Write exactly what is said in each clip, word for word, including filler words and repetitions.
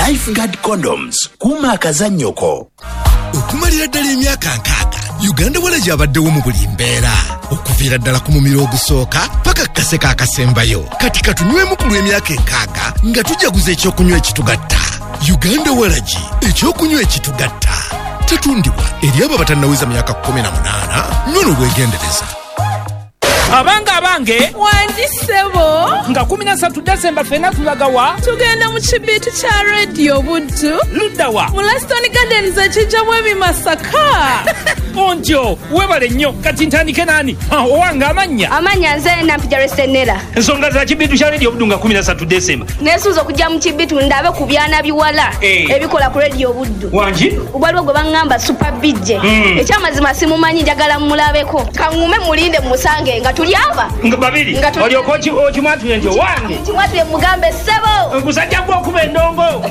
Lifeguard Condoms, kuuma akazannyoko. Okumalira ddala emyaka nkaaga, Uganda Walagi abaddewo mu buli mbeera, okuviira ddala ku mumiro ogusooka paka ku kaseka akasembayo. Kati katunywemu ku lw'emyaka enkaaga nga tujaguza ekyokunywa ekitugatta. Uganda Walagi, ekyokunywa ekitugatta. Tetundibwa eri abo abatannaweza myaka kkumi na munaana. Nywa n'obwegendereza. Abange, abange. Wangi ssebo. Nga kumi na ssatu Desemba ffenna tulagawa? Tugenda mu kibiitu kya Radio Buddu. Luddawa? Mu Laston Gardens ekijjamu ebimasaka. Ontyo webale nnyo. Kati ntandike nani? Owange, amannya? Amannya nze Nampija Resenera. Ensonga za kibiitu kya Radio Buddu nga kumi na ssatu Desemba? Neesuuza okujja mu kibiitu ndabe ku byana biwala Eh. ebikola ku Radio Buddu. Wangi? Waliwo gwe baŋŋamba Super B J. Mm. Ekyamazima simumanyi, njagala mmulabeko. Kaŋŋume mulinde musange nga tuli aba. Nga babiri. Nga tuli- Olyoka oki- okimwatule nti owange. Kimwatule mugambe ssebo. Gusajja gwe okuba endongo.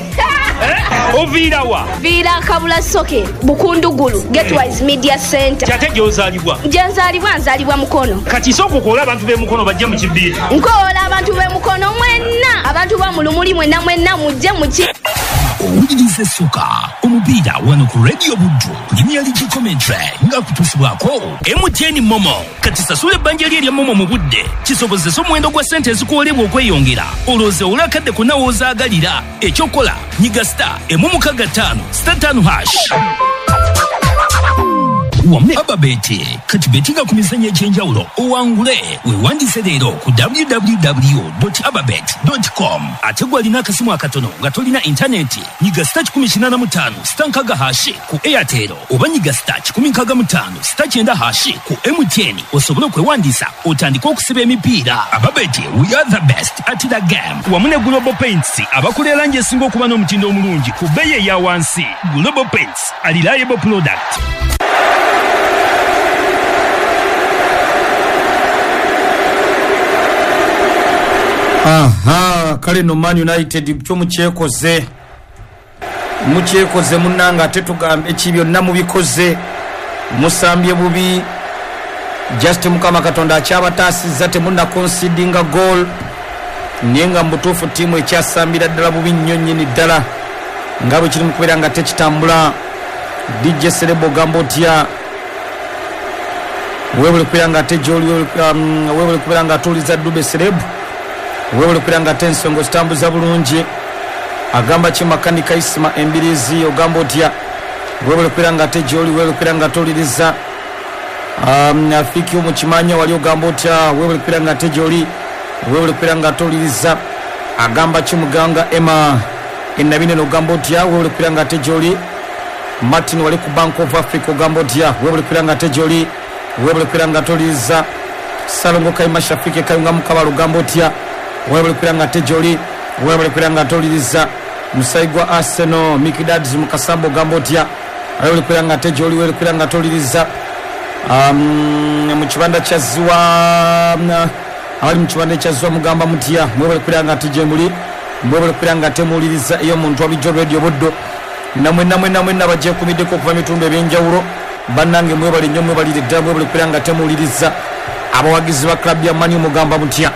Eh? Oviirawa? Viira Kabula Soke, Bukundugulu, Getwise Media Center. Kyate gy'ozaalibwa? Gye nzaalibwa, nzaalibwa Mukono. Kati sooka okoola abantu b'emukono bajje mu kibiitu. Nkoola abantu b'emukono mwenna, abantu ba mu Lumuli mwenna mwenna mujje muki. Owuliriza essuka omupiira wano ku Radio Buddu Premier League commentary nga kutuusibwako M T N MoMo. Kati sasula ebbanja lye erya MoMo mu budde kisobozesa omuwendo gwa ssente ezikuwolebwa okweyongera, olowooza olwakadde konna w'ozaagalira. Ekyokola, nyiga star emu mukaga ttaano star ttaano hash. Wamu ne Ababet, kati betinga ku mizannyo egy'enjawulo owangule. Weewandiise leero ku W W W ababet com. Ate gw'alina akasimu akatono nga tolina intaneti, nyiga star kikumi kinaana mu ttaano star nkaaga hash ku Airtel, oba nyiga star kikumi nkaaga mu ttaano star kyenda hash ku M T N osobole okwewandiisa otandike okusiba emipiira. Ababet, we are the best at the game. Wamu ne Global Paints, abakola erangi esinga okuba n'omutindo omulungi ku bbeeyi eya wansi. Global Paints, a reliable product. Aha, kale no Man United kyo mukyekoze, mukyekoze munnanga. Ate tugambe ki? Byonna mubikoze, musambye bubi. Just Mukama Katonda akyabataasizza temunna concedinga goal, naye nga mu butuufu ttiimu ekyasambira ddala bubi nnyo nnyini ddala nga bwe kiri mu kubeera nga tekitambula. D J Serebo, ogamba otya? Weebale kubeera nga ate gyoli, weebale kubeera nga atuuliza Dube Serebu, weebale kubeera nga ate ensonga zitambuza bulungi. Agamba ki Makanika Isima Embirizi? Ogamba otya? Weebale kubeera nga ate gyoli, weebale kubeera nga atuuliriza. um, afiki mukimanya wali, ogamba otya? Weebale kubeera nga ate gyoli, weebale kubeera nga atuuliriza. Agamba ki Muganga Emma Enabinene? Ogamba otya? Weebale kubeera nga ate gyoli. Martin wali ku Bank of Africa, ogamba otya? Weebale kubeera nga ate gyoli, weebale kubeera nga atuuliriza. Salongo Kaima Shafike Kayunga Mukabala, ogamba otya? Weebale kubeera nga ate gyoli, weebale kubeera nga atuuliriza. Musayi gwa Arsenal Mikidads Mukasamba, ogamba otya? Weebale kubeera nga ate gyoli, weebale kubeera nga atuuliriza. um, mu kibanda kya Ziwa, abali mu kibanda kya Ziwa mugamba mutya? Mwebale kubeera nga ate gyemuli, mwebale kubeera nga temuwuliriza ey'omuntu walijjo Radio Buddo. Namwe namwe namwe bagyekumiddeko okuva mitundu ebyenjawulo, bannange mwebale nnyo, mwebalire ddala, mwebale kubeera nga temuwuliriza. Abawagizi ba club ya Man U mugamba mutya?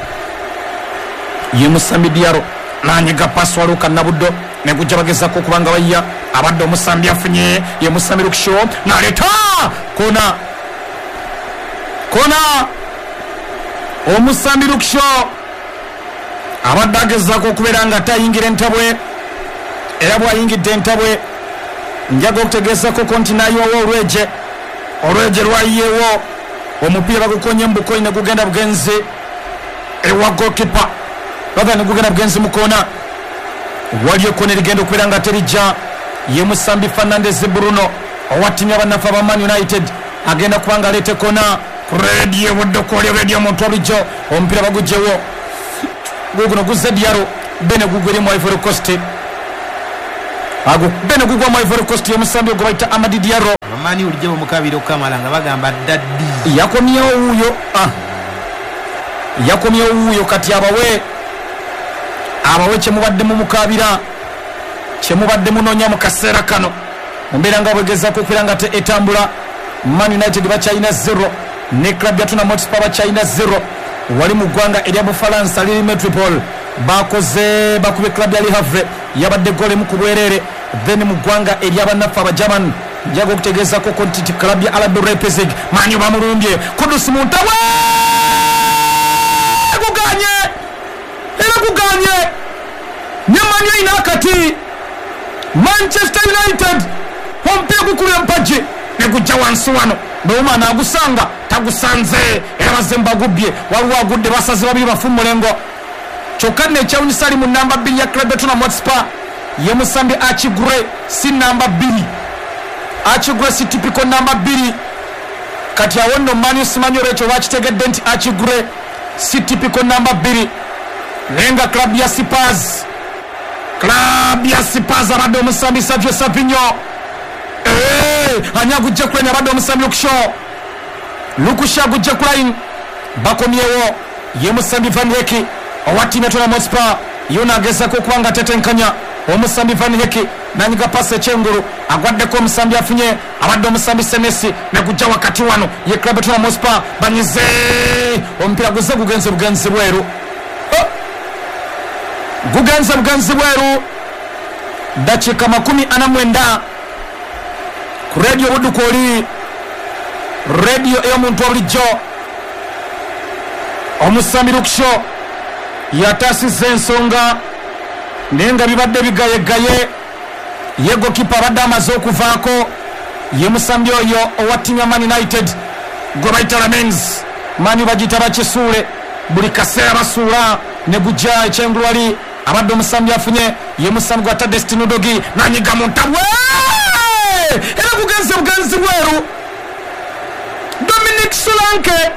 Ye Musambi Diaro nanyiga pasi, waluka Nabuddo negujja bagezako okubanga bayiya. Abadde omusambi afunye, ye Musambi Luke Shaw naleeta kona, kona. Omusambi Luke Shaw abadde agezaako okubeera nga tayingira entabwe, era bw'ayingidde entabwe njaga okutegeezako konti n'ayiwawo olweje, olweje lwayiyewo. Omupiira bagukonye mu bukonyi ne gugenda bugenzi ewa goalkeeper, rather ne gugenda bugenzi mu koona. Waliyo kona erigenda okubeera nga terijja. Ye Musambi Fernandes Bruno owa ttiimu y'abannaffe aba Man United agenda kuba nga aleeta kona ku Radio Buddo, kwoli Radio omuntu walijjo. Omupiira bagugyewo, guguno guzze Diaro bene gugweri mu Ivory Coast, ago bene gugwa mu Ivory Coast, y'omusambi ogwo bayita Amadi Diaro. Abamani bulijjo bamukabira okukamala nga bagamba daddy. Yakomyewo wuuyo, ah. Yakomyewo wuuyo. Kati abawe abawe kyemubadde mumukabira, kyemubadde munoonya mu kaseera kano. Mu mbeera nga bwegezaako okubeera nga te etambula, Man United bakyalina zero ne club ya Tottenham Hotspur bakyalina zero. Wali mu ggwanga erya Bufalansa liri Metropole, Bakoze bakubye club ya Le Havre yabadde gole mu kubwerere. Then mu ggwanga eryabannaffe Abagerman njaga okutegeezako ko nti club ya R B Leipzig manyi bamulumbye Kudus Muntawe guganye era guganye ne Manu ina akati Manchester United omupiira gukulira mpagi ne gujja wansi wano Bwuma nagusanga tagusanze era bazze mbagubbye waliwo agudde basaze babiri bafu mulengo kyokka nno ekyawunyisa ali mu namba bbiri ya club ya Tottenham Hotspur ye musambi Archie Gray si namba bbiri. Archie Gray si typical namba bbiri. Kati awo nno Manu simanyi olwekyo bakitegedde nti Archie Gray si typical namba bbiri naye nga club ya Spurs club ya Spurs abadde omusambi Savio Savinho eh ani agujja ku line abadde omusambi Luke Luke agujja ku line bakomyewo ye musambi Van Hecke owa ttiimu ya Tottenham Hotspur yona agezaako okuba nga atetenkanya omusambi Van Hecke nanyiga pasi ekyengulu agwaddeko omusambi afunye abadde omusambi Senesi ne gujja wakati wano ye club ya Tottenham Hotspur banyize omupiira guze gugenze bugenzi bweru oh! gugenze bugenzi bweru dakiika makumi ana mwenda ku radio Buddu oli radio ey'omuntu obulijjo omusambi Luke Shaw yataasizza ensonga naye nga bibadde bigayegaye ye gokipa abadde amaze okuvaako ye musambi oyo owa ttiimu ya Man United gwe bayita Lamens Manu bagiyita bakisuule buli kaseera basuula ne gujja ekyengulu wali abadde omusambi afunye ye musambi gwa Tadestino Dogi nanyiga mu ntabwe era gugenze bugenzi bweru Dominic Solanke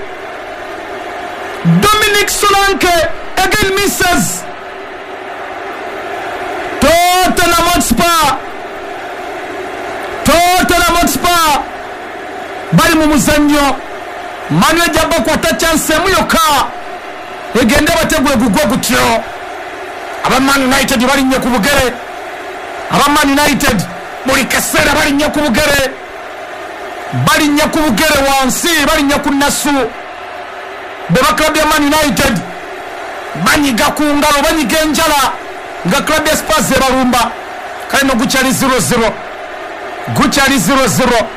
Dominic Solanke again misses Tottenham Hotspur Tottenham Hotspur bali mu muzannyo Manu ejja bakwata chance emu yokka egende bategwe gugwa gutyo aba Man United balinnye ku bugere aba Man United buli kaseera balinnye ku bugere balinnye ku bugere wansi balinnye ku nasu be ba club ya Man United banyiga ku ngalo banyiga enjala nga club ya Spurs ebalumba kale no gukyali zero zero gukyali zero zero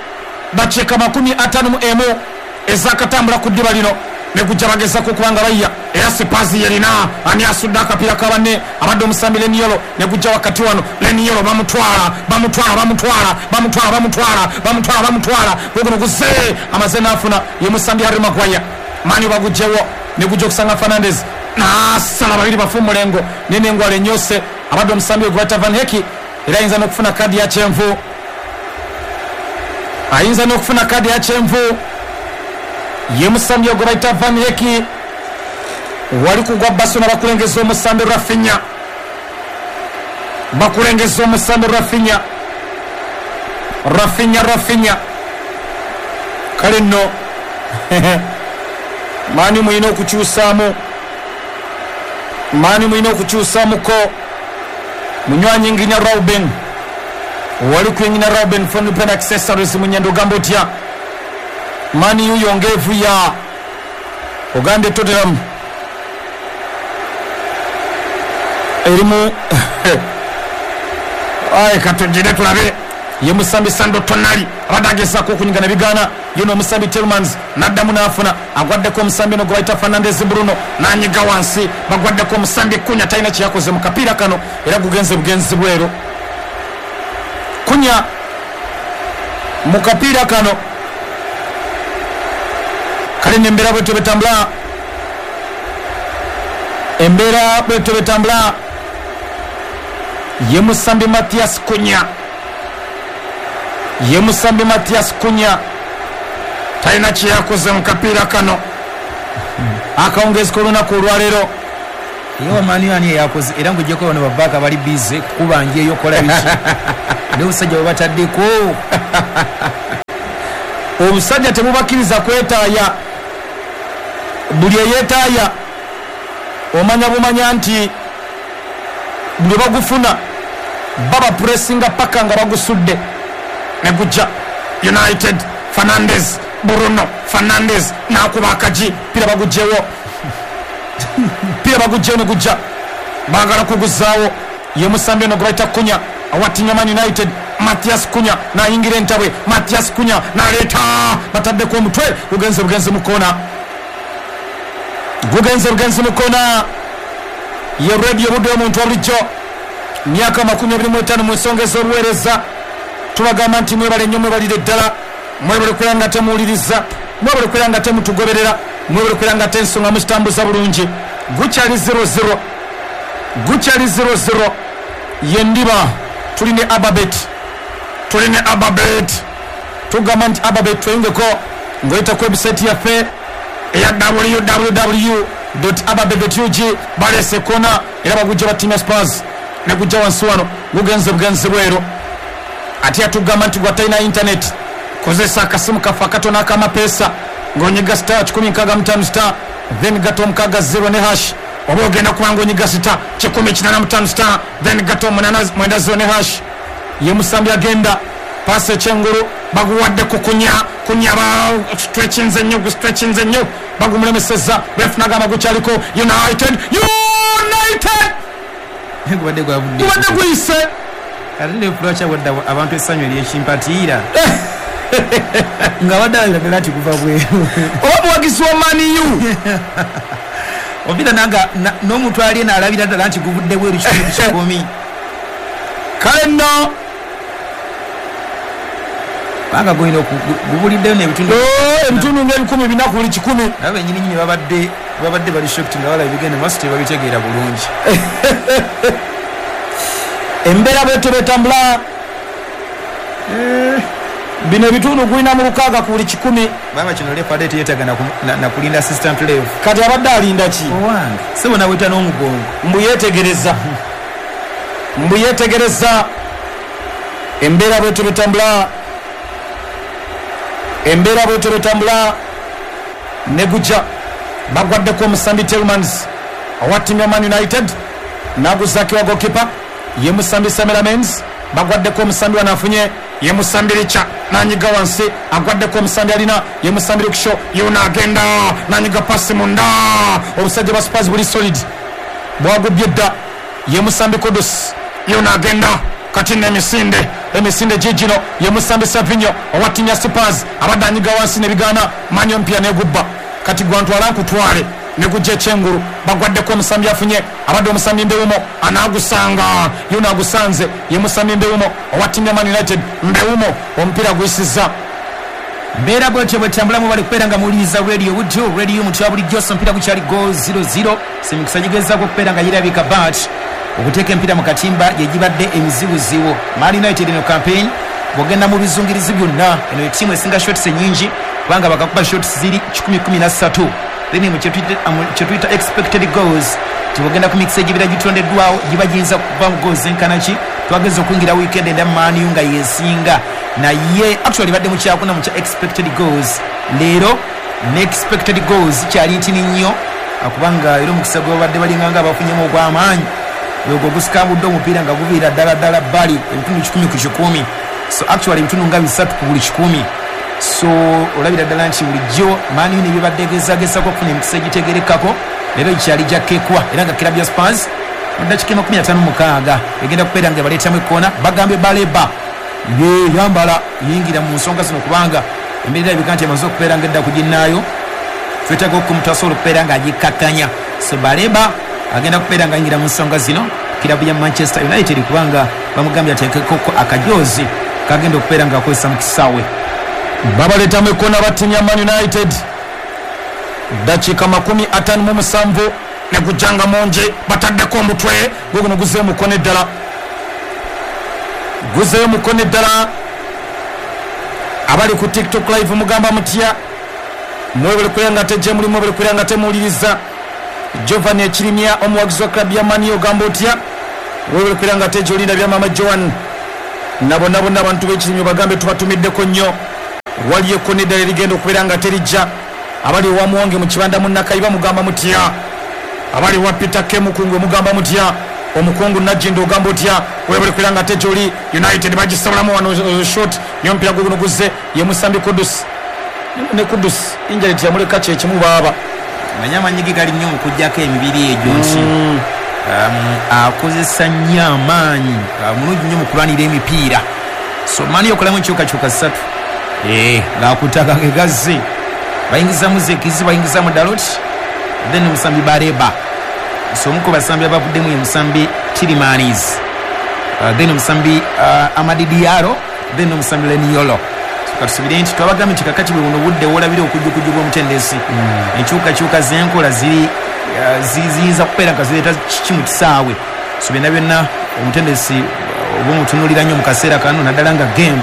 dakiika makumi ataano mu emu ezakatambula ku ddiba lino ne gujja bagezaako okuba nga bayiya era Spurs yerina ani asudde akapiira ka banne abadde omusambi Leniolo ne gujja wakati wano Leniolo bamutwala bamutwala bamutwala bamutwala bamutwala bamutwala bamutwala guguno guze amaze n'afuna ye musambi Harry Maguire Manu bagugjewo ne gujja okusanga Fernandes nasala babiri bafu mulengo nenengwala enyose abadde omusambi gwata Van Hecke era ayinza n'okufuna kadi ya kyenvu ayinza n'okufuna kadi ya kyenvu ye musambi ogwo bayita Van Hecke wali kugwa Barcelona bakulengeza omusambi Rafinha bakulengeza omusambi Rafinha Rafinha Rafinha kale nno Manu mulina okukyusaamu Manu mulina okukyusaamuko munywanyi nginya Rauben wali kuyingina Rauben phone pen accessories munyendo ogamba otya Manu yuyo ngevu ya ogambye Tottenham erimu aye katugire tulabe ye musambi Sandro Tonali abadde agezaako okunyiga ne bigaana ye n'omusambi Tillmans n'addamu n'afuna agwaddeko omusambi ono gwe bayita Fernandes Bruno n'anyiga wansi bagwaddeko omusambi Kunya talina kye yakoze mu kapiira kano era gugenze bugenzi bweru Kunya mu kapiira kano kale n'embeera bwetyo betambula embeera bwetyo betambula ye musambi Mathias Kunya ye musambi Mathias Kunya talina kye yakoze mu kapiira kano akawungezi k'olunaku olwaleero Yo Manu ani yakoze era ngujjeko bano babaka bali busy kubanja eyo kola biki n'obusajja bwe bataddeko obusajja tebubakkiriza kwetaaya buli eyeetaaya omanya bumanya nti buli bagufuna baba pressinga paka nga bagusudde ne gujja United Fernandes Bruno Fernandes n'akuba akagi pira bagugyewo pira bagugyewo ne gujja Baagala kuguzaawo. Ye musambi ono gwe bayita Kunya owa ttiimu ya Man United, Mathias Kunya n'ayingira entabwe. Mathias Kunya n'aleeta, bataddeko omutwe, gugenze bugenzi mu koona, gugenze bugenzi mu koona. Ye Radio Buddu omuntu wa bulijjo, myaka makumi abiri mu etaano mu nsonga ez'obuweereza. Tubagamba nti mwebale nnyo, mwebalire ddala, mwebale kubeera nga temuwuliriza, mwebale kubeera nga temutugoberera, mwebale kubeera nga tensonga mukitambuza bulungi. Gukyali zero zero, gukyali zero zero. Ye ndiba tuli ne Ababet, tuli ne Ababet. Tugamba nti Ababet tweyungeko ng'oyita ku website yaffe eya w w w dot ababet dot u g. Balese kona era bagujja ba ttiimu ya Spurs ne gujja wansi wano, gugenze bugenzi bweru. Ate yatugamba nti gwatalina internet, kozesa akasimu kaffe akatono ak'amapeesa ng'onyiga star kikumi nkaaga mu ttaano star then gato omukaaga zero ne hash, oba ogenda kuba ng'onyiga star kikumi kinaana mu ttaano star then gato omunaana mwenda zero ne hash. Ye musambi agenda paasi ekyengulu, baguwadde ku Kunya. Kunya stretchinze nnyo, gustretchinze nnyo, bagumulemesezza. Ref n'agamba gukyaliko United, United gubadde gwavudde, gubadde guyise. Ate ne lwaki awadde abantu essanyu ery'ekimpatiira nga badde alabira nti guva bweru oba muwagizi wa Man U ompira nanga n'omuntu ali eno alabira ddala nti guvudde bweru kitundu kikumi. Kale nno kubanga gulina gubuliddeyo n'ebitundu ebitundu ng'ebikumi bina ku buli kikumi. Nabo bennyini nnyini babadde babadde bali shocked nga balaba ebigenda maaso tebabitegeera bulungi. Embeera bwetyo bwetambula. Bino ebitundu gulina mu lukaaga ku buli kikumi. Baba kino ref adde teyeetaaga na kulinda assistant ref. Kati abadde alinda ki? Owange sebo naweta n'omugongo. Mbu yeetegereza, mbu yeetegereza. Embeera bwetyo bwetambula, embeera bwetyo bwetambula. Ne gujja bagwaddeko omusambi Tillmans owa ttiimu ya Man United n'aguzaako wa goalkeeper ye musambi Samira Menz. Bagwaddeko omusambi wano afunye ye musambi Richa n'anyiga wansi, agwaddeko omusambi alina ye musambi Luksho, yona agenda n'anyiga pasi munda. Obusajja bwa Spurs buli solid, bwagubye dda. Ye musambi Kudus, yona agenda kati n'emisinde, emisinde gigino ye musambi Savinho owa ttiimu ya Spurs abadde anyiga wansi n'ebigaana, manyo mpya negubba. Kati gwantwala nkutwale ne gujja ekyengulu. Bagwaddeko omusambi afunye abadde omusambi Mbeumo anaagusanga, yona agusanze ye musambi Mbeumo owa ttiimu ya Man United. Mbeumo omupiira guyisizza. Mbeera bwetyo bwetambulamu bali kubeera nga muwuliriza Radio Buddu, Radio Mutwa bulijjo. Omupiira gukyali goal zero zero. Semikisa gigezaako okubeera nga girabika bat okuteeka empiira mu katimba gye gibadde emizibuzibu. Man United eno campaign bw'ogenda mu bizungirizi byonna eno ettiimu esinga shots ennyingi kubanga bakakuba shots ziri kikumi kumi na ssatu. Then mu kyetuyita expected goals tibogenda ku mikisa egibira gitondeddwawo giba giyinza kuva mu goals enkana ki. Twageza okuyingira weekend enda Man U nga yesinga, naye actually badde mu kyakuna mu kya expected goals. Leero ne expected goals kyali ntini nnyo kubanga era omukisa gwe babadde balinga nga bafunyemu ogw'amaanyi ogwo gusikambudde omupiira nga guviira ddala ddala bbali ebitundu kikumi ku kikumi. So actually ebitundu nga bisatu ku buli kikumi. So olabira ddala nti bulijjo Man U ne bibadde egezagezaako okufuna emikisa egitegerekako leero kyali gyakkekwa era nga kirabu ya Spurs mu ddakiika makumi ataano mu mukaaga egenda kubeera nga baleetamu ekkoona. Bagambye Baleba ye yambala yingira mu nsonga zino kubanga embeera erabika nti emaze okubeera nga edda ku ginnaayo. Twetaaga omuntu asobola okubeera ng'agikkakkanya. So Baleba agenda kubeera nga ayingira mu nsonga zino kirabu ya Manchester United kubanga bamugambye ateekeko akajoozi kagenda okubeera ng'akozesa mu kisaawe. Babaleetamu ekkoona ba ttiimu ya Man United. Dakiika makumi ataano mu musanvu ne gujjanga mungi, bataddeko omutwe guguno guzeeyo mukono eddala, guzeeyo mukono eddala. Abali ku TikTok live mugamba mutya? Mwebale kubeera nga tejje muli, mwebale kubeera nga temuwuliriza. Giovanni Ekirimya omuwagizi wa club ya Man U ogamba otya? Mwebale kubeera nga tejje olinda bya mama Joan na bonna bonna abantu b'Ekirimya bagambe tubatumiddeko nnyo. Waliyo ekkona eddala erigenda okubeera nga terijja. Abali wa Muwonge mu kibanda mu Nakayiba mugamba mutya? Abali wa Peter K Mukungwe mugamba mutya? Omukungu Najjindo ogamba otya? Webale kubeera nga tejje oli. United bagisabulamu wano shot niyo omupiira guguno guzze ye musambi Kudus. Ne Kudus injury teyamuleka kyekimu baaba. Manya amanyi ge gali nnyo mu kuggyako emibiri egyo nti um, akozesa nnyo amaanyi, mulungi nnyo mu kulwanira emipiira. So Man U okolamu enkyukakyuka ssatu ng'akutaka ge gazze, bayingizamu Zekizi, bayingizamu Dalot, then omusambi Bareba. So omu ku basambi abavuddemu ye musambi Tilimanis, uh, then omusambi uh, Amadi Diallo, then omusambi Leniolo. So katusubire nti twabagambye nti kakati bwe buno budde woolabira okujjukujju bw'omutendesi, enkyukakyuka z'enkola ziri uh, ziyinza kubeera nga zireeta kiki mu kisaawe. So byonna byonna omutendesi oba omutunuulira nnyo mu kaseera kano, naddala nga game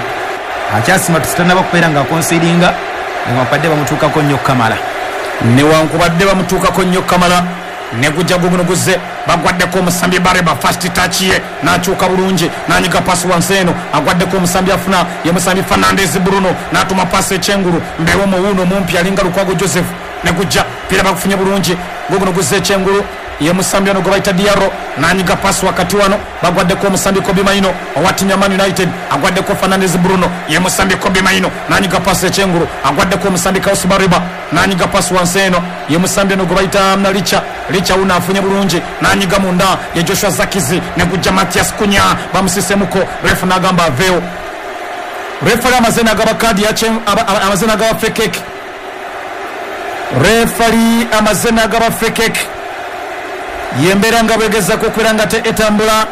akyasima tusitanaba kubeera nga akonsiringa, newankubadde bamutuukako nnyo Kamala, newankubadde bamutuukako nnyo Kamala. Negujja guguno guzze, bagwaddeko omusambi Bareba, first touch ye n'akyuka bulungi n'anyiga pasi wansi eno, agwaddeko omusambi afuna ye musambi Fernandez Bruno, n'atuma pasi ekyengulu mbewo muwuno mumpi alinga Lukwago Joseph. Negujja pira bakufunye bulungi, guguno guzze ekyengulu ye musambi ono gwe bayita Diallo, n'anyiga pasi wakati wano, bagwaddeko omusambi Kobbie Mainoo owa ttiimu ya Man United, agwaddeko Fernandez Bruno ye musambi Kobbie Mainoo, n'anyiga pasi ekyengulu, agwaddeko omusambi Carlos Bareba, n'anyiga pasi wansi eno ye musambi ono gwe bayita Licha. Licha uno afunye bulungi n'anyiga munda ye Joshua Zakizi, negujja Matias Cunha bamusisemuko, refu n'agamba aveewo. Refari amaze n'agaba kaadi amaze n'agaba free kick, refari amaze n'agaba free kick. Yembeera nga bwegezako okubeera nga te etambula.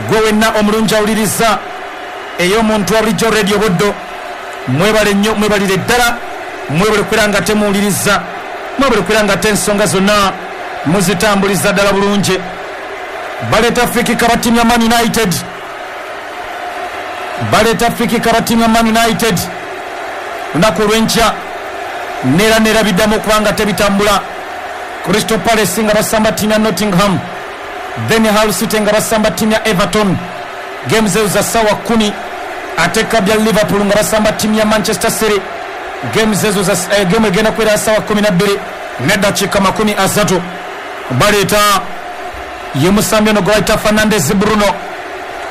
Gwe wenna omulungi awuliriza ey'omuntu wa bulijjo Radio Buddo, mwebale nnyo, mwebalire ddala, mwebale kubeera nga temuwuliriza, mwebale kubeera nga te ensonga zonna muzitambuliza ddala bulungi. Baleeta free kick aba ttiimu ya Man United, baleeta free kick aba ttiimu ya Man United. Lunaku olw'enkya neera neera biddamu okuba nga tebitambula. Crystal Palace nga basamba ttiimu ya Nottingham, then Hull City nga basamba ttiimu ya Everton, games ezo za ssaawa kkumi. Ate club ya Liverpool nga basamba ttiimu ya Manchester City, games ezo za eh, game egenda kubeera ssaawa kkumi na bbiri n'eddakiika makumi asatu. Baleeta ye musambi ono gwe bayita Fernandez Bruno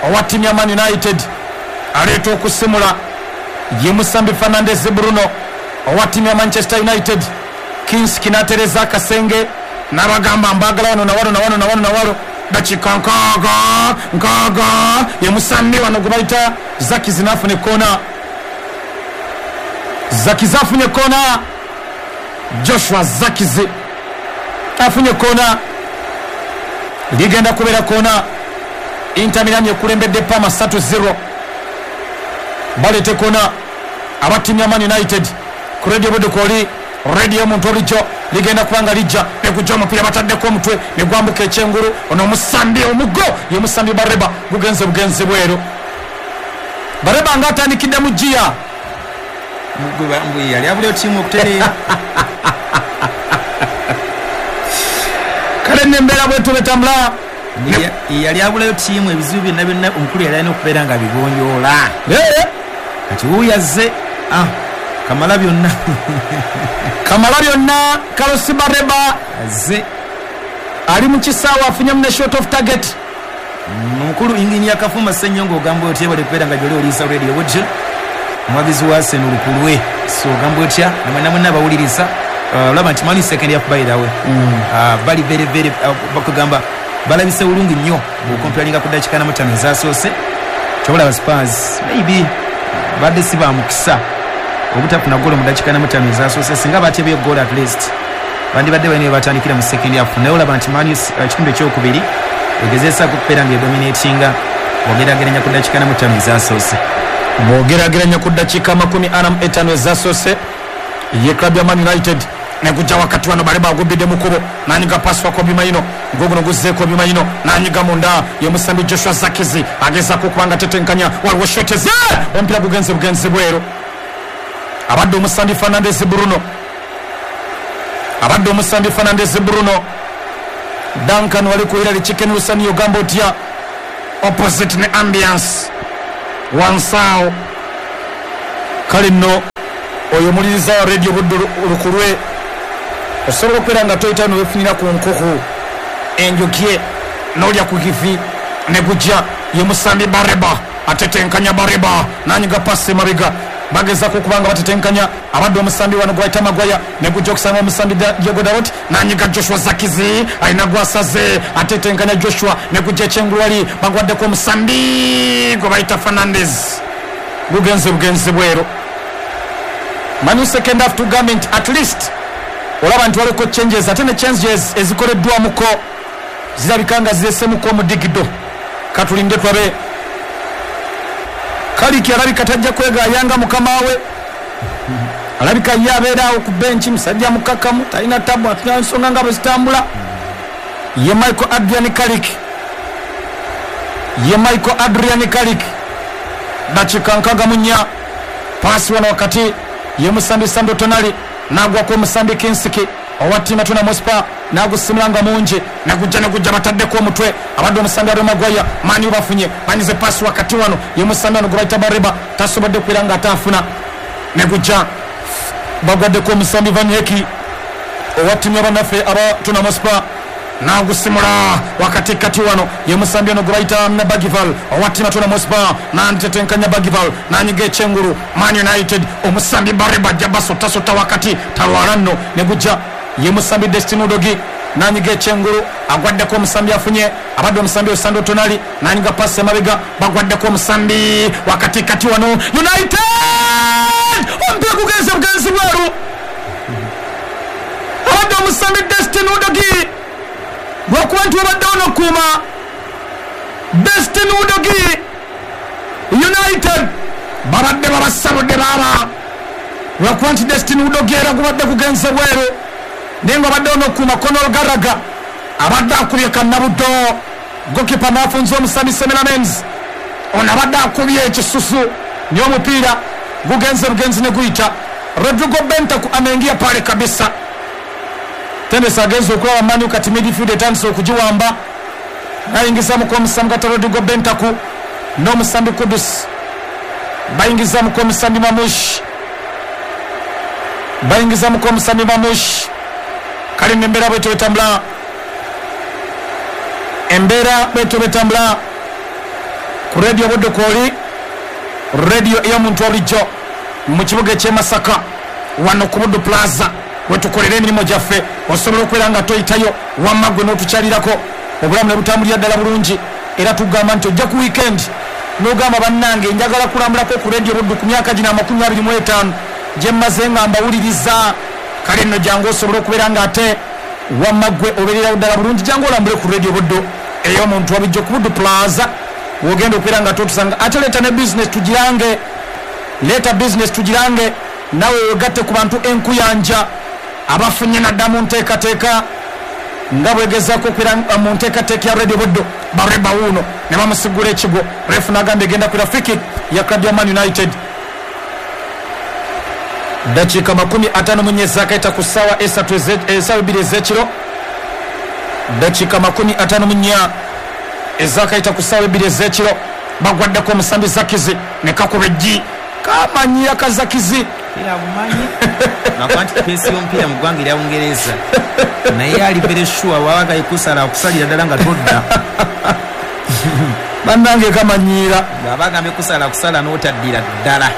owa ttiimu ya Man United, aleeta okusimula ye musambi Fernandez Bruno owa ttiimu ya Manchester United. Kinski n'atereza akasenge n'abagamba mbagala wano na wano na wano na wano na wano, dakiika nkaaga nkaaga ye musambi wano gwe bayita Zakizi n'afuna ekkoona, Zakizi afunye ekkoona, Joshua Zakizi afunye ekkoona, ligenda kubeera koona. Inter Milan ekulembedde Parma ssatu zero. Baleeta ekkoona aba ttiimu ya Man United ku Radio Buddo kwoli Radio omuntu olijjo ligenda kuba nga lijja negujja omupiira bataddeko omutwe ne gwambuka ekyengulu, ono omusambi omugo ye musambi Bareba, gugenze bugenzi bweru. Bareba nga atandikidde mu giya yali abuleo ttiimu okutereera. Kale nembeera bwetu betambula, yali abulayo ttiimu ebizibu byonna byonna omukulu yali alina okubeera nga bigonjoola. Kati wuuyo azze ah, kamala byonna kamala byonna. Carlos Bareba azze ali mu kisaawe afunyemu ne shot of target. Omukulu Engineer Kafuma Ssenyongo ogamba otya bali kubeera nga gyoli oliisa Radio Buddo, omuwagizi wa Arsenal lukulwe. So ogamba otya namwenna mwenna abawuliriza, olaba nti Man U second half by the way bali very very bakugamba balabise bulungi nnyo bw'okomparinga ku ddakiika na mutaano ezasoose. Kyobalaba Spurs maybe badde si ba mukisa obutafuna ggoolo mu ddakiika na mutaano ezasoose, singa batebye ggoolo at least bandibadde balina batandikira mu second half. Naye olaba nti Man U ekitundu ekyokubiri egezesaako okubeera nga edominatinga bw'ogeraageranya ku ddakiika na mutaano ezasoose, bw'ogeraageranya ku ddakiika makumi ana mu etaano ezasoose ye club ya Man United. Negujja wakati wano Bareba agubbidde mu kkubo n'anyiga pasi wa Kobbie Mainoo, guguno guzze Kobbie Mainoo n'anyiga munda ye musambi Joshua Zakizi agezaako okuba nga tetenkanya, waliwo shoteze omupiira gugenze bugenzi bweru. Abadde omusambi Fernandez Bruno, abadde omusambi Fernandez Bruno. Duncan wali ku Hillary Chicken Lusani ogamba otya opposite ne ambiance wansaawo. Kale nno oyo omuliriza wa Radio Buddo lukulwe, osobola okubeera nga toyita nowefunira ku nkoko enjokye n'olya ku kifi. Negujja ye musambi Bareba atetenkanya Bareba nanyiga pasi mabega, Bagezako kubanga batetenkanya abadde omusambi wano gwayita Magwaya ne gujja okusanga omusambi Diego Dalot nanyiga Joshua Zakizi alina gwasaze atetenkanya Joshua ne gujja ekyengulu wali bagwaddeko omusambi gwe bayita Fernandez gugenze bugenzi bweru. Manu second half tugambye nti at least olaba nti waliko changes ate ne changes ezikoleddwamuko zirabika nga ziresemuko omudigido. Katulinde tulabe. Kaliki alabika tajja kwegayanga mukama we, alabika ye abeeraawo ku benchi, musajja mukakamu talina tabu, atulina nsonga nga bwe zitambula. Ye Michael Adrian Kaliki, ye Michael Adrian Kaliki, dakika nkaaga mu nnya, paasi wano wakati ye musambi Sandro Tonali nagwako omusambi Kinsiki owa ttiimu ya Tottenham Hotspur nagusimula nga mungi nagujja nagujja bataddeko omutwe abadde omusambi Harry Maguire. Mani bafunye banyize paasi wakati wano ye musambi wano gwe bayita Bareba tasobodde kubeera nga ataafuna negujja bagwaddeko omusambi Van Hecke owa ttiimu y'abannaffe aba Tottenham Hotspur nagusimula wakati kati wano ye musambi ono gwe bayita Bagival owa ttiimu ya Tottenham Hotspur nantetenkanya Bagival nanyiga ekyengulu Man United omusambi Bareba ajja basotasota wakati talwala nno negujja ye musambi Destiny Udogie nanyiga ekyengulu agwaddeko omusambi afunye abadde omusambi Sandro Tonali nanyiga pasi emabega bagwaddeko omusambi wakati kati wano United omupiira gugenze bugenzi bweru abadde omusambi Destiny Udogie lwakuba nti wabaddewo n'okuuma Destiny Udogie United babadde babasabudde baaba lwakuba nti Destiny Udogie era gubadde gugenze bweru naye nga abaddewo n'okuuma Conor Gallagher abadde akubye kannabuddo gokipa n'afunza omusambi Semelamens ono abadde akubye ekisusu naye omupiira gugenze bugenzi ne guyita. Rodrigo Bentancur ameingia pale kabisa. Tendesi agenze okulaba Manu kati midfield etandise okugiwamba nayingizamuko omusambi kati Rodrigo Bentancur n'omusambi Kudus bayingizamuko omusambi Mamush bayingizamuko omusambi Mamush. Kale embeera bwetyo betambula embeera bwetyo betambula ku radio Buddu kwoli radio ey'omuntu wabulijjo mu kibuga eky'e Masaka wano ku Buddu Plaza wetukolera emirimu gyaffe. Osobola okubeera nga toyitayo wamma gwe n'otukyalirako obulamu ne butambulira ddala bulungi. Era tugamba nti ojja ku weekend n'ogamba bannange njagala kulambulako ku radio Buddu ku myaka gino amakumi abiri mu etaano gye mmaze nga mbawuliriza. Kale nno jangu osobola okubeera nga ate wamma gwe obeererawo ddala bulungi, jangu olambule ku radio Buddu ey'omuntu wabijjo ku Buddu Plaza wogenda okubeera nga totusanga. Ate leeta ne business tugirange, leeta business tugirange nawe wegatte ku bantu enkuyanja abafunye nadda mu nteekateeka nga bwegezaako okubeera mu nteekateeka ya radio Buddu. Bareba wuuno ne bamusigula ekigwo, refu n'agamba egenda kwera free kick ya club ya Man United. Dakiika makumi ataano mu nnya ezakaita ku ssaawa esatu essaawa ebbiri ez'ekiro, dakiika makumi ataano mu nnya ezakaita ku ssaawa ebbiri ez'ekiro bagwaddeko omusambi Zakizi ne kakuba eggi kamanyira ka Zakizi bumanyi nakuba nti peesi y'omupiira mu ggwanga erya Bungereza naye ali very sure wabaga ekusala akusalira ddala nga todda bannange kamanyiira bw'aba agambye kusala akusala n'otaddira ddala.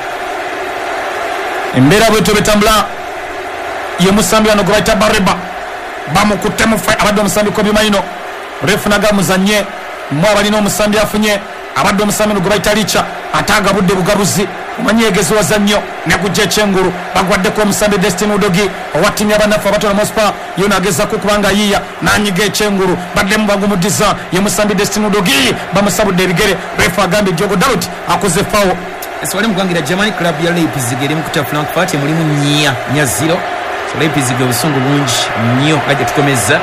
Embeera bwetyo betambula ye musambi wano gwe bayita Bareba bamukutte mufe abadde omusambi Kobbie Mainoo refu nagamuzanye mwe abalina omusambi afunye abadde omusambi ono gwe bayita Licha ate agabudde bugabuzi omanyi yegeziwaza nnyo negujja ekyengulu bagwaddeko omusambi Destiny Udogie owa ttiimu y'abannaffe aba Tottenham Hotspur yo nagezaako kubanga yiiya n'anyiga ekyengulu baddemu bagumuddiza ye musambi Destiny Udogie bamusabudde ebigere refu agambye Diogo Dalot akoze fawo. Wali mu ggwanga lya Germany club ya Leipzig eri mu kutta Frankfurt emulimu nnya nnya zero. So Leipzig obusungu bungi nnyo nga gye tukomeza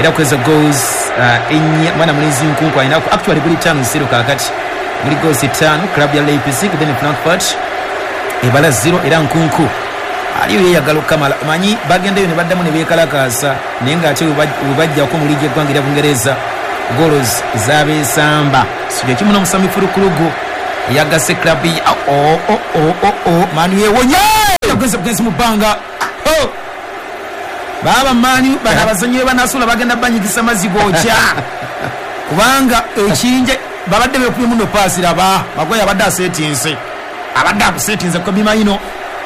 era kweza goals uh, ennya mwana mulinzi nkunku alinako actually guli ttaano zero kaakati muli goals ttaano club ya Leipzig then Frankfurt ebala zero era nkunku aliyo yeyagala okukamala omanyi bagendayo ne baddamu ne beekalakaasa naye ng'ate we bajjako mu liigi y'eggwanga erya Bungereza goals zabeesamba. So kye kimu n'omusambi Fulukulugu yagase club ya o o o o o Manu yewonye yagenze bugenzi mu bbanga oh baba Manu bana abazannyi be banasula bagenda banyigisa mazzi gookya kubanga ekinje babadde beekubye muno paasi laba Maguire abadde aseetinze Abadde akusetinze Kobbie Mainoo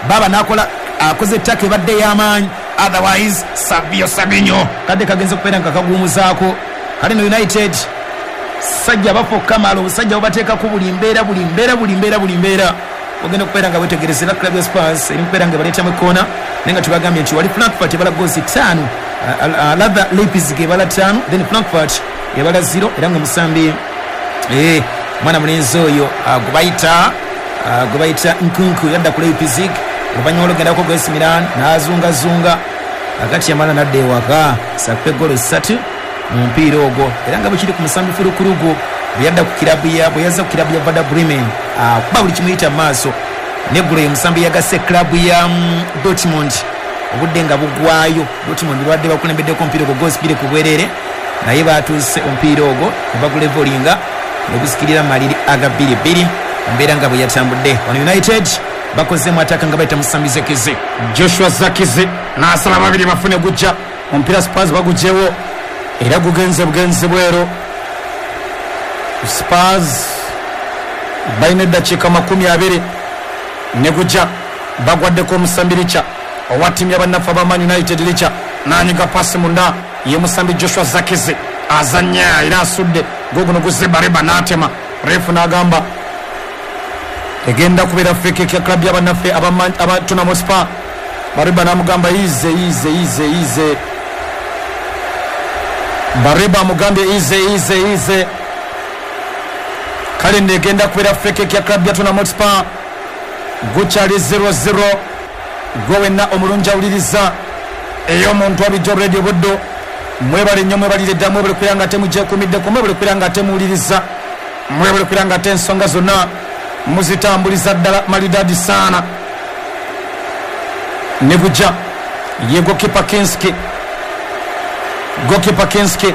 baba nakola akoze ettaka ebadde ey'amaanyi, otherwise Savio Sabinyo kadde kagenze okubeera nga kaguumuzaako. Kale no United sajja bafa okukamala, obusajja bubateekako buli mbeera buli mbeera buli mbeera buli mbeera ogenda okubeera nga wetegereza. Era club ya Spurs eri mukubeera nga ebaleetamu ekkoona, naye nga tubagambye nti wali Frankfurt ebala goozi ttaano, rather Leipzig ebala ttaano, then Frankfurt ebala zero. Era nga omusambi eh, mwana mulenzi oyo gwe bayita gwe bayita Nkunku yadda ku Leipzig oluvannyuma olwogendako gwe A C Milan n'azungazunga akati yamala nadda ewaka sakupe goolo ssatu mu mpiira ogwo. Era nga bwe kiri ku musambi Fulukulugu bwe yadda ku kirabu ya bwe yazza ku kirabu ya Werder Bremen akuba buli kimuyita mu maaso. Neggulo ye musambi yagasse kirabu ya Dortmund obudde nga bugwayo. Dortmund babadde bakulembeddeko omupiira ogwo goozi bbiri ku bwereere, naye batuuse omupiira ogwo ne bagulevolinga ne gusikirira maliri aga bbiri bbiri. Embeera nga bwe yatambudde wano United bakozemu ataka nga bayita musambi Zekize Joshua Zakize n'asala babiri bafune gujja omupiira Spurs bagugyewo era gugenze bugenzi bweru. Spurs balina eddakiika makumi abiri ne gujja bagwaddeko omusambi Licha owa ttiimu ya bannaffe aba Man United. Licha n'anyiga pasi munda ye musambi Joshua Zakize azannya era asudde guguno guzze Bareba n'atema refu n'agamba egenda kubeera free kick ya club ya bannaffe aba Tottenham Hotspur. Bareba n'amugamba ize ize ize ize, Bareba amugambye ize ize ize. Kale negenda kubeera free kick ya club ya Tottenham Hotspur. Gukyali zero zero. Gwe wenna omulungi awuliriza ey'omuntu abijja Radio Buddo, mwebale nnyo, mwebalire ddala, mwebale kubeera nga temugyekuumiddeko, mwebale kubeera nga temuwuliriza, mwebale kubeera nga ate ensonga zonna muzitambuliza ddala malidadi sana. Ne gujja ye goalkeeper Kinski, goalkeeper Kinski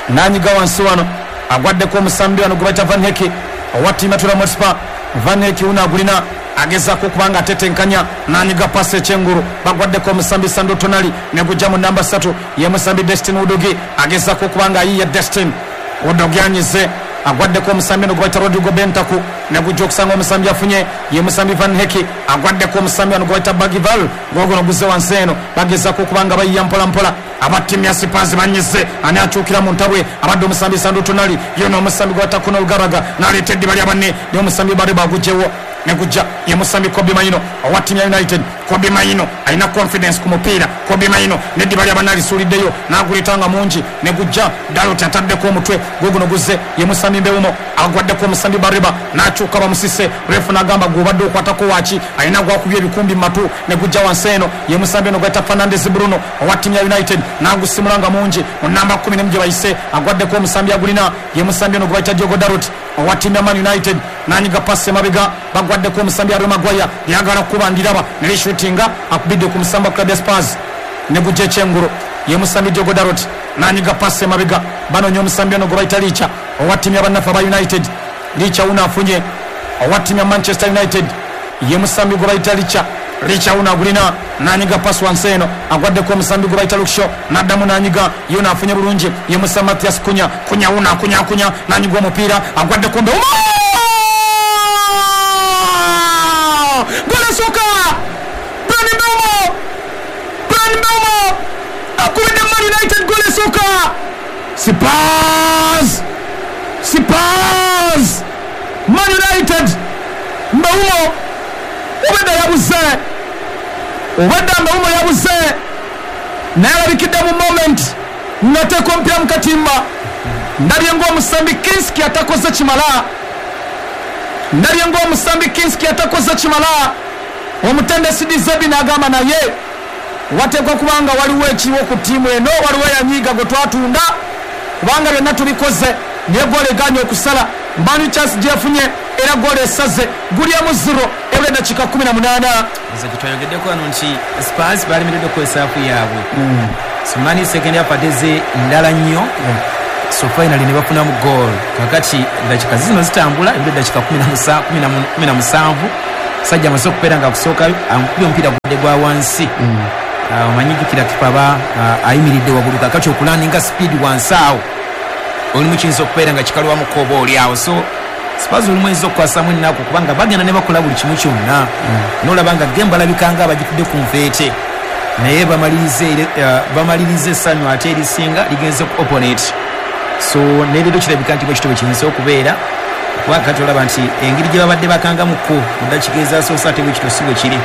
n'anyiga wansi wano agwaddeko omusambi wano gwe bayita Van Hecke owa ttiimu ya Tottenham Hotspur. Van Hecke wuno agulina agezaako okubanga atetenkanya n'anyiga pasi ekyengulu bagwaddeko omusambi Sandro Tonali ne gujja mu namba ssatu ye musambi Destin Udogie agezaako okubanga ayiye Destin Udogie anyize agwaddeko omusambi ono gwe bayita Rodrigo Bentancur ne gujja okusanga omusambi afunye ye musambi Van Hecke agwaddeko omusambi ono gwe bayita Bagival gogono guzze wansi eno bagezaako okubanga bayiya mpola mpola. Aba ttiimu ya Spurs banyize ani akyukira mu ntabwe abadde omusambi Sandro Tonali ye n'omusambi gwe bayita Conor Gallagher n'aleeta eddiba lya banne naye omusambi Bareba agugyewo ne gujja ye musambi Kobbie Mainoo owa ttiimu ya United. Kobbie Mainoo alina confidence ku mupiira. Kobbie Mainoo n'eddiba lya banne alisuuliddeyo n'aguleeta nga mungi ne gujja Dalot ataddeko omutwe guguno guzze ye musambi Mbeumo agwaddeko omusambi Bareba n'akyuka bamusise refu n'agamba gw'obadde okwatako waaki alina gwakubye ebikumbi mu matu ne gujja wansi eno ye musambi ono gwayita Fernandes Bruno owa ttiimu ya United n'agusimula nga mungi mu namba kkumi n'emu gye bayise agwaddeko omusambi agulina ye musambi ono gwe bayita Diogo Dalot owa ttiimu ya Man United n'anyiga pasi emabega bagwaddeko omusambi Harry Maguire lyagala kuba ndiraba ne lishutinga akubidde ku musamba club ya Spurs ne gujja ekyengulu ye musambi Diogo Dalot n'anyiga pasi emabega banoonya omusambi ono gwe bayita Licha owa ttiimu ya bannaffe aba United. Licha wuno afunye owa ttiimu ya Manchester United ye musambi gwe bayita Licha. Licha wuno agulina n'anyiga pasi wansi eno agwaddeko omusambi gwe bayita Luksho n'addamu n'anyiga ye afunye bulungi ye musambi Mathias Kunya. Kunya wuno akunya akunya n'anyiga omupiira agwaddeko Mbeumo gol esooka Bryan Mbeumo, Bryan Mbeumo akubidde Man United gol esooka. Spurs, Spurs, Man United. Mbeumo obedda yabuze, obedda Mbeumo yabuze naye alabikidde mu moment ng'ateeka omupiira mu katimba. Ndabye ng'omusambi Kinski atakoze kimala, ndabye ng'omusambi Kinski atakoze kimala. Omutendesi Dizebi n'agamba naye wateekwa kubanga waliwo ekiriwo ku ttiimu eno, waliwo eyanyiiga gwe twatunda kubanga byonna tubikoze naye goolo egaanye okusala. Mbani chance gyefunye era goolo esaze gulyamu zero ebula eddakiika kkumi na munaana. Nze kitwayogeddeko wano nti Spurs balemereddwa okukozesa haafu yaabwe. Sumani second half ateze ndala nnyo so finally ne bafunamu goal. Kakati eddakiika zino zitambula ebula eddakiika kumi na musanvu sajja amaze okubeera nga akusooka amukubye omupiira gudde gwa wansi. Omanyi jjukira kipa aba ayimiridde waggulu kakati okulaninga speed wansi awo olimu kiyinza okubeera nga kikalwamuko oba oli awo. So Spurs olumu eyinza okukwasamu ennaku kubanga bagenda ne bakola buli kimu kyonna, nolaba nga game balabika nga abagitudde ku nfeete, naye bamalirize essanyu ate erisinga ligenze ku opponent. So neleero kirabika nti bwekito bwe kiyinza okubeera, kuba kati olaba nti engeri gye babadde bakangamuko mu ddakiika ezasoose ate bwekito si bwe kiri,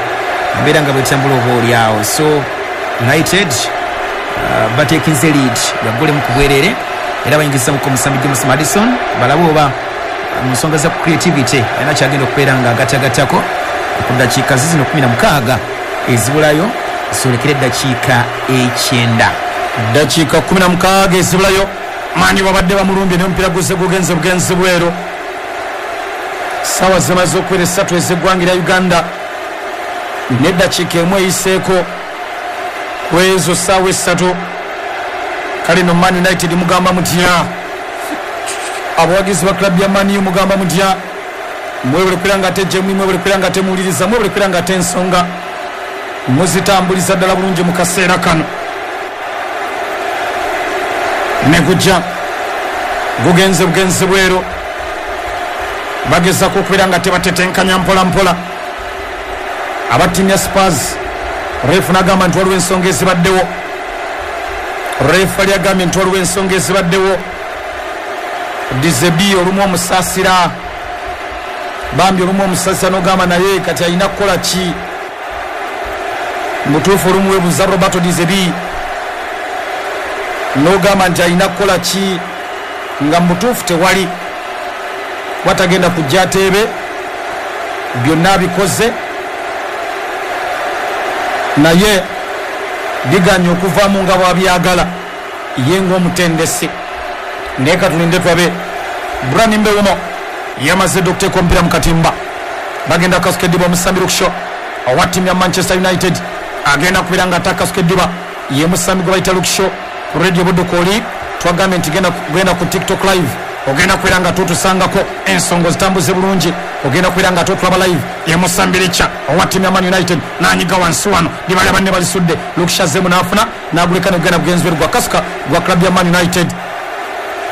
embeera nga bwetambula oba oli awo. So United uh, batekinze lead yagolemu ku bwerere, era bayingizamuko omusambi James Maddison, balabe oba mu nsonga za creativity alina kyagenda okubeera nga agatagattako ku ddakiika zizino kumi na mukaaga ezibulayo zolekere eddakiika ekyenda. Ddakiika kumi na mukaaga ezibulayo. Mani babadde bamulumbye naye omupiira guze gugenze bugenzi bweru. Ssaawa zimaze okuwera essatu ez'eggwanga erya Uganda n'eddakiika emu eyiseeko ku ezo ssaawa essatu. Kale no Man United mugamba mutya? Abawagizi ba club ya Man U mugamba mutya? Mwebale kubeera nga ate gyemuli, mwebale kubeera nga ate muwuliriza, mwebale kubeera nga ate ensonga muzitambuliza ddala bulungi mu kaseera kano. Negujja gugenze bugenzi bweru, bagezako okubeera nga tebatetenkanya mpola mpola. Aba ttiimu ya Spurs, refu n'agamba nti waliwo ensonga ezibaddewo. Refu ali agambye nti waliwo ensonga ezibaddewo. Dizebi olumu omusaasira, bambi olumu omusaasira n'ogamba naye kati alina kukola ki? Mutuufu olumu weebuuza Roberto Dizebi n'ogamba nti alina kukola ki, nga mutuufu tewali watagenda kujja ateebe, byonna abikoze naye biganye okuvaamu nga bw'abyagala ye ng'omutendesi. Naye katulinde tulabe. Brani Mbeumo yamaze dda okuteeka omupiira mu katimba, bagenda kukasuka eddiba. Omusambi Luke owa ttiimu ya Manchester United agenda kubeera nga ate akasuka eddiba, ye musambi gwe bayita Luke Shaw. Ku Radio Budukooli twagambye nti genda ku TikTok live, ogenda kubeera nga totusangako ensonga zitambuze bulungi, ogenda kubeera nga totulaba live. Ye musambi Richa owa ttiimu ya Man United n'anyiga wansi wano, dibali banne balisudde. Luke Shaw azzeemu n'afuna n'aguleka negugenda bugenzi bweru gwa kasuka gwa club ya Man United.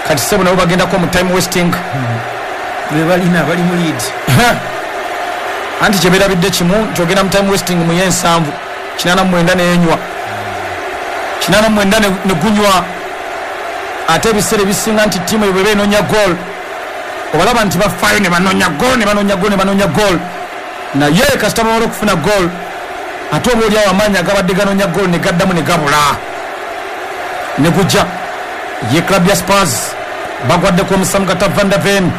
Kati sebo nabo bagendako mu time wasting, bebalina bali mu lead anti kyebeerabidde kimu nti ogenda mu time wasting mu y'ensanvu kinaana mu mwenda nenywa kinaana mu mwenda ne gunywa. Ate ebiseera ebisinga nti ttiimu eyo bweba enoonya goal, obalaba nti bafaayo ne banoonya goal ne banoonya goal ne banoonya goal, naye kasita bamala okufuna goal ate oba oliawo amaanyi agabadde ganoonya goal ne gaddamu ne gabula ne gujja. Ye club ya Spurs bagwaddeko omusamu gata Van der Ven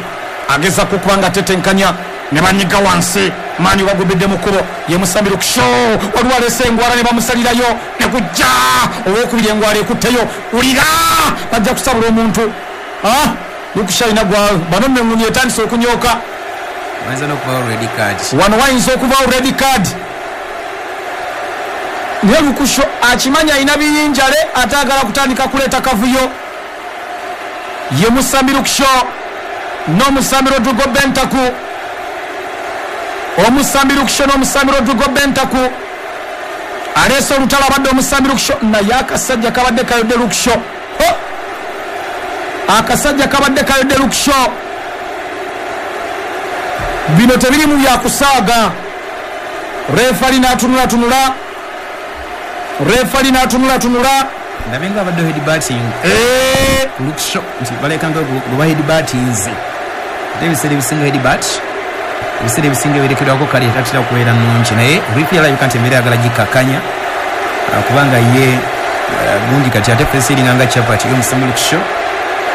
agezaako okuba nga atetenkanya ne banyiga wansi. Mani bagobedde mu kkubo, ye musambi Luke Shaw, waliwo aleese engwala ne bamusalirayo ne gujja. Owokubiri engwala ekutteyo, wulira bajja kusabula omuntu. Luke Shaw alina gwa bano nno etandise okunyooka, wano wayinza okubaawo red card. Naye Luke Shaw akimanyi alina biyinjale ate agala kutandika kuleeta kavuyo. Ye musambi Luke Shaw n'omusambi Rodrigo Bentancur, omusambi Luke Shaw n'omusambi Rodrigo Bentancur aleese olutalo abadde omusambi Luke Shaw, naye akasajja kabadde kayodde Luke Shaw. Akasajja kabadde kayodde Luke Shaw. Bino tebirimu byakusaaga. Refali n'atunulatunula, refali n'atunulatunula, ndabe nga abadde headbutting Luke Shaw nti baleka nga gwe headbuttinze, ate ebiseera ebisinga headbutt ebiseera ebisinga ebirekerwako kale tatera kubeera nnungi, naye referee alabika nti embeera ayagala gikkakkanya kubanga ye gundi kati ate fesi eringa nga chapati y'omusambi Luke Shaw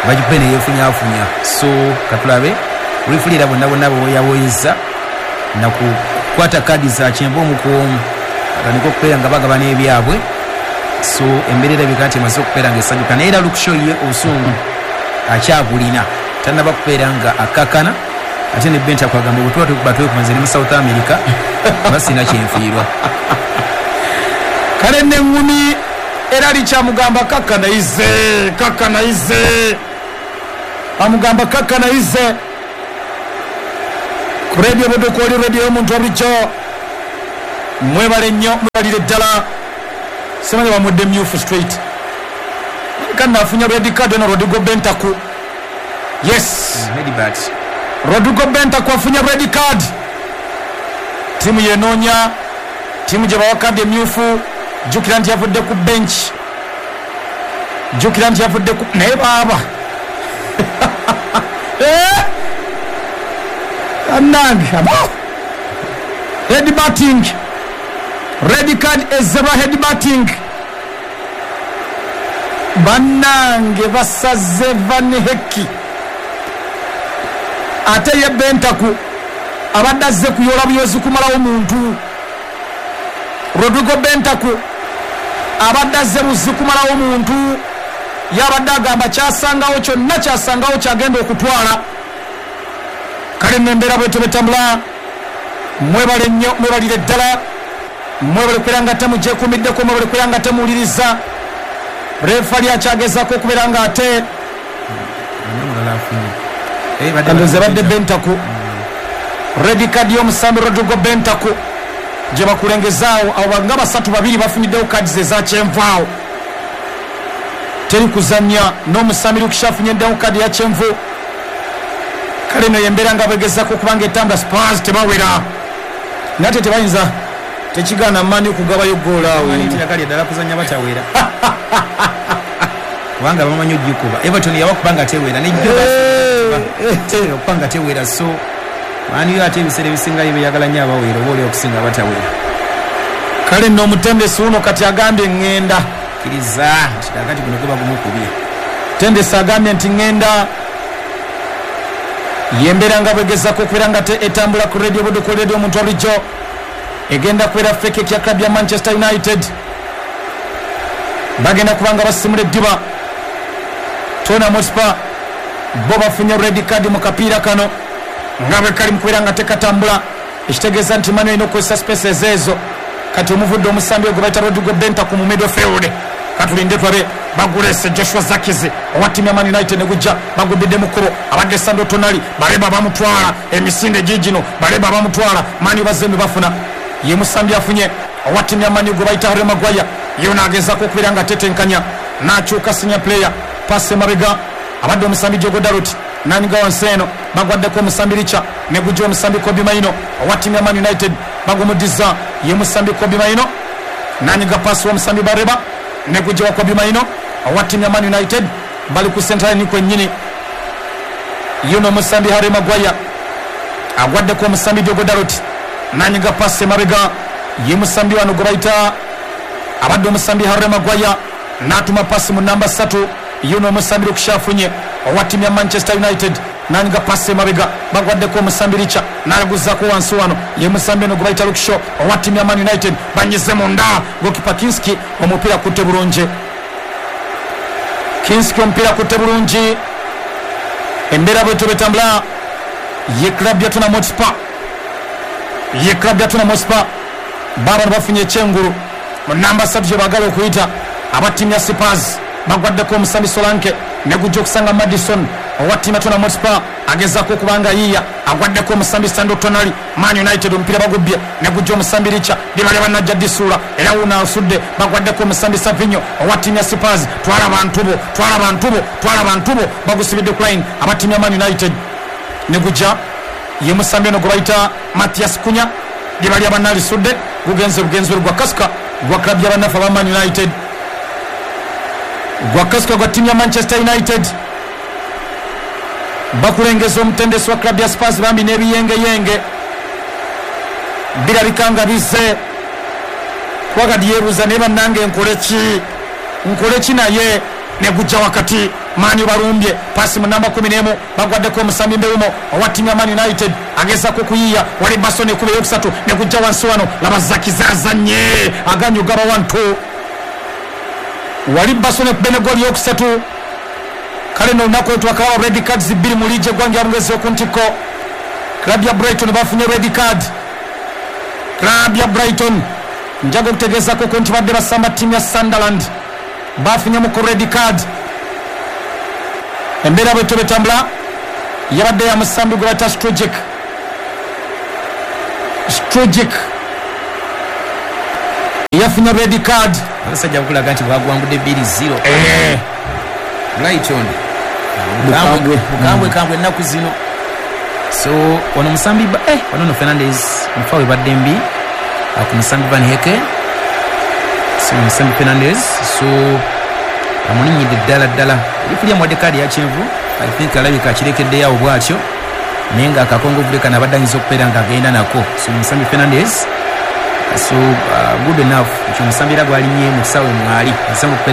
bagikube neyeefunyaafunya. So katulabe referee era bonna bonna bweyaboyeza nakukwata kadi za kyenvu omu ku omu atandika okubeera nga bagabana ebyabwe. So embeera erabika nti emaze okubeera nga esanyuka, naye era Luke Shaw ye obusungu akyabulina, tannaba kubeera nga akkakkana. Ate ne Bentancur agamba bwe tuba tukuba twekumaze ne mu South America basina kyenfiirwa. Kale neŋŋumi era likyamugamba kakkanaize, kakkanaize, amugamba kakkanaize. Ku Radio Budukooli, radio y'omuntu wabulijjo, mwebale nnyo, mwebalire ddala. Simanyi bamudde myufu straight kanna afunya red card eno Rodrigo Bentancur. Yes, headbutt Rodrigo Bentancur afunye red card. Timu yenoonya, timu gye bawa kadi emyufu. Jjukira nti yavudde ku bench, jjukira nti yavudde ku naye baaba annange head batting, red card ezebwa head batting. Bannange basaze Van Hecke, ate ye Bentancur abadde azze kuyoola buyozi kumalawo muntu. Rodrigo Bentancur abadde azze buzzi kumalawo muntu, yabadde agamba kyasangawo kyonna kyasangawo kyagenda okutwala. Kale nembeera bwetyo betambula. Mwebale nnyo, mwebalire ddala, mwebale kubeera nga temugyekuumiddeko, mwebale kubeera nga temuwuliriza. Refali akyagezaako okubeera nga ate kandoze badde Bentancur. Red card y'omusambi Rodrigo Bentancur gye bakulengezaawo. Abo nga basatu babiri bafuniddewo cards eza kyenvu awo, teri kuzannya. N'omusambi Luke afunyeddewo kadi ya kyenvu. Kale no yembeera nga bwegezaako okubanga etambula. Spurs tebawera nate tebayinza, tekigaana maani okugabayo goolo awo. Ddala kuzannya batawera kubanga bamanyi ogikuba. Everton yabakuba nga tewera nejjo okuba nga tewera, so maani yo ate ebiseera ebisingayo beyagala nnyo abawera oba oli okusinga abatawera. Kale nno omutendesi wuno kati agambye ŋŋenda kkiriza nti kati guno guba gumukubye. Tendesi agambye nti ŋŋenda. Yembeera nga bwegezako okubeera nga etambula ku radio Buddu, ku radio omuntu bulijjo egenda kubeera fekeki ya club ya Manchester United. Bagenda kubanga basimula eddiba. Tottenham Hotspur bo bafunye red card mu kapiira kano nga bwe kali mu kubeera nga tekatambula, ekitegeeza nti Manu erina okukozesa spaces ezo. Kati omuvudde omusambi ogwe bayita Rodrigo Bentancur mu midfield. Katulinde tulabe. Bagulese Joshua Zirkzee owa ttiimu ya Man United ne gujja, bagubidde mu kkubo. Abadde Sandro Tonali, Baleba bamutwala emisinde giigino, Baleba bamutwala. Manu bazembe bafuna, ye musambi afunye owa ttiimu ya Manu gwe bayita Harry Maguire. Ye naagezaako okubeera nga tetenkanya, n'akyuka senior player, pasi emabega abadde omusambi Diogo Dalot naniga wansi eno, bagwaddeko omusambi Richa ne gujja omusambi Kobbie Mainoo owa ttiimu ya Man United, bagumuddiza ye musambi Kobbie Mainoo naniga pasi w'omusambi Bareba ne gujja wa Kobbie Mainoo owa ttiimu ya Man United. Bali ku central line kwennyini. Yuno omusambi Harry Maguire agwaddeko omusambi Diogo Dalot naniga pasi emabega ye musambi wano gwe bayita abadde omusambi Harry Maguire n'atuma pasi mu namba ssatu. Yuno omusambi Luke Shaw afunye owa ttiimu ya Manchester United naniga pasi emabega, bagwaddeko omusambi Richa n'aguzaako wansi wano ye musambi eno gwe bayita Luke Shaw owa ttiimu ya Man United. Banyize munda, gokipa Kinski omupiira kutte bulungi. Kinski omupiira kutte bulungi. Embeera bwetyo betambula. Ye club ya Tottenham Hotspur, ye club ya Tottenham Hotspur baabano bafunye ekyengulu mu namba ssatu gye baagala okuyita. Aba ttiimu ya Spurs bagwaddeko omusambi Solanke ne gujja okusanga Maddison owa ttiimu ya Tottenham Hotspur agezaako okubanga yiiya, agwaddeko omusambi Sandro Tonali. Man United omupiira bagubbye ne gujja omusambi Richa libalya bannajja disuula era wuno asudde, bagwaddeko omusambi Savinho owa ttiimu ya Spurs. Twala bantu bo, twala bantu bo, twala bantu bo, bagusibidde ku line aba ttiimu ya Man United ne gujja ye musambi ono gwe bayita Mathias Cunha libalya bannalisudde, gugenze bugenzi gwa Kasika gwa club ya bannaffe aba Man United, gwa Kasika gwa ttiimu ya Manchester United. Bakulengeza omutendesi wa club ya Spurs bambi n'ebiyengeyenge birabika nga bizze kuba yeebuuza naye bannange nkole ki, nkole ki naye ne gujja wakati. Mani balumbye pasi mu namba kumi n'emu, bagwaddeko omusambi Mbeumo owa ttiimu ya Man United agezaako okuyiiya. Wali Basson ekuba eyokusatu ne gujja wansi wano, laba Zirkzee azannye aganye ogaba wantu. Wali Basson ekuba ne gooli eyokusatu. Kale nno olunaku olwo twakalaba red cards bbiri mu liigi eggwanga ya Bungereza oku ntikko. Club ya Brighton bafunye red card. Club ya Brighton njaga okutegeezaako nti badde basamba ttiimu ya Sunderland, bafunye ku red card. Embeera bwetyo betambula. Yabadde ya musambi gwe bayita Strujic, Strujic yafunye red card. Abasajja bakulaga nti bagwangudde bbiri zero. Eh, Brighton bukambwe bukambwe kambwe ennaku zino. So ono musambi ba- eh, wano no Fernandes mufawe badde mbi ah, ku musambi Van Heke. So musambi Fernandes so amulinyidde ddala ddala, lifuli amuwadde kaadi ya kyenvu. I think alabika akirekeddeyo awo bwatyo, naye nga akakongovule kano abadde ayinza okubeera nga agenda nako. So musambi Fernandes, so uh, good enough ekyo, omusambi era gwalinnye mu kisaawe mwali asamu okubeera.